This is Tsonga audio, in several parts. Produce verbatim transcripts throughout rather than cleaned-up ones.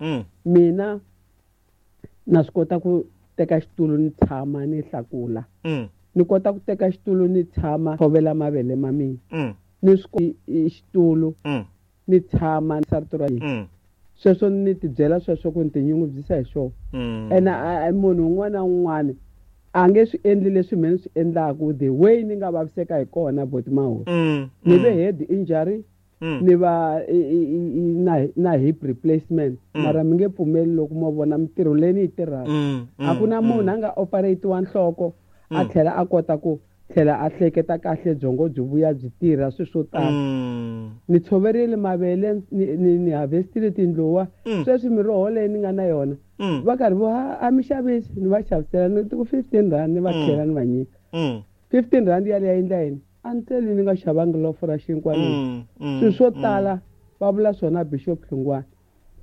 Mm. Mina na swi kota ku teka xitulu ni tshama ni hlakula. Mm. Ni kota ku teka xitulu ni tshama tshovela mavele ma mina. Mm. Ni swi xitulu Mm. ni tshama ni sarito ra yena. Mm. Sweswo ni tibyela sweswo ku ni tinyungubyisa hi swona. Mm. Ene a- a- munhu un'wana na un'wana a nge swi endli leswi mina ni swi endlaku the way ni nga vaviseka hi kona boti Mahuri. Mm. Ni ve head injury Mm. ni va i- i- i- na na hip replacement Mm. mara mi nge pfumeli loko mo vona mintirho leyi ni yi tirhaka. Mm. A ku na munhu a nga operate-iwa nhloko a Mm. tlhela a kota ku tlhela a hleketa kahle byongo byi vuya byi tirha swilo swo tala. Mm. Ni tshoverile mavele ni ni, ni harvestile tindluwa Mm. sweswi miroho leyi ni nga na yona Mm. va karhi vo "Ha, a mi xavisi ni va xavisela ni ku fifteen rand ni va Mm. tlhela ni va nyika Mm. fifteen rand yaleyo ya endla yini a ni tleli ni nga xavangi lofo ra xinkwa ni Mm. Mm. swilo swo tala va vula swona Bishop Hlungwani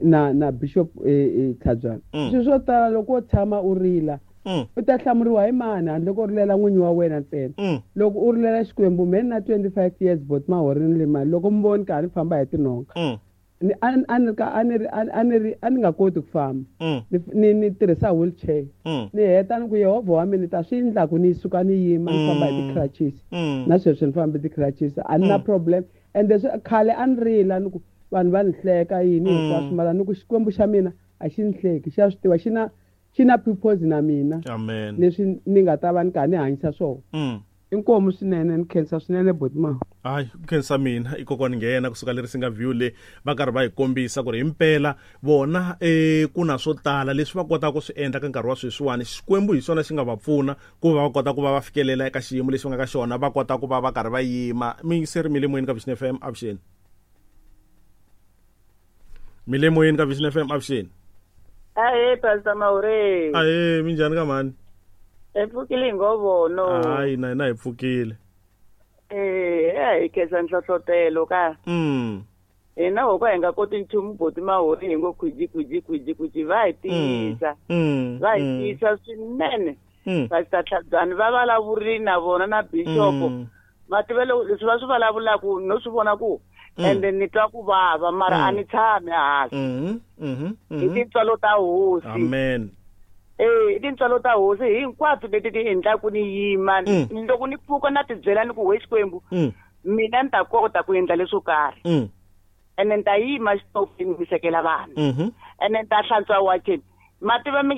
na na Bishop eh, eh, Tlhabyana Mm. swilo swo tala loko wo tshama u rila Mm. u ta hlamuriwa hi mani handle ko rilela n'winyi wa wena ntsena Mm. loko u rilela Xikwembu me ni na twenty-five years bot Mahuri ni le mali loko mi voni karhi ni famba hi tinhonga Mm. ni a ni- a ni ka a ni ri a ni ri a ni nga koti ku famba Mm. ni ni ni tirhisa wheelchair Mm. ni heta ni ku Yehovha wa mina ni ta swi endla ku ni suka ni yima ni famba hi Mm. ti-crutches Mm. na sweswi ni famba hi ti-crutches a ni na Mm. problem ende swi khale a ni rila ni ku vanhu va ni hleka yini Mm. hinkwaswo mara ni ku Xikwembu xa mina a xi ni hleki xa swi tiva xi na xi na purpose na mina Amen. leswi ni nga ta va ni karhi ni hanyisa swona Mm. inkomu swinene ni khensa swinene boti Mahuri. Hayi ku khensa mina i kokwani nghena kusuka leri singa view le va karhi va hi kombisa ku ri himpela vona eh ku na swo tala leswi va kotaka ku swi endla ka nkarhi wa sweswiwani Xikwembu hi xona xi nga va pfuna ku va va kota ku va va fikelela eka xiyimo lexi va nga ka xona va kota ku va va karhi va yima mi se ri mi le moyeni ka Vision F M avuxeni mi le moyeni ka Vision F M avuxeni Ahee Pastor Mahuri. Ahee minjhani ka mhani Hi pfukile hi ngovono. Hayi na hina hi pfukile Eh, a hi khensa nhlohlotelo ka. Mm. Hina ho ka hi nga koti nchumu boti Mahuri hi ngo khwiji khwiji khwiji khwiji va hi tiyisa. Mm. Va hi Mm. tiyisa swinene. Mm. Pastor Tlhabyana va vulavurile na vona na Bishop. Mm. Va tiva loko leswi va swi vulavulaka no swi vona ku Mm. ende ni twa ku vava mara Mm. a ni tshami hansi. Mhm. Mhm. Hi Mhm. tintswalo ta hosi. Amen. Eh, i tintswalo ta hosi hinkwato leti ti endlaku ni yima Mm. loko ni pfuka na ti byela ni ku we Xikwembu Mm. mina ni ta kota ku endla leswo karhi Mm. ene ni ta yima xitofini ni sekela vanhu Mhm. ene ni ta hlantswa wacheni ma tiva mi nge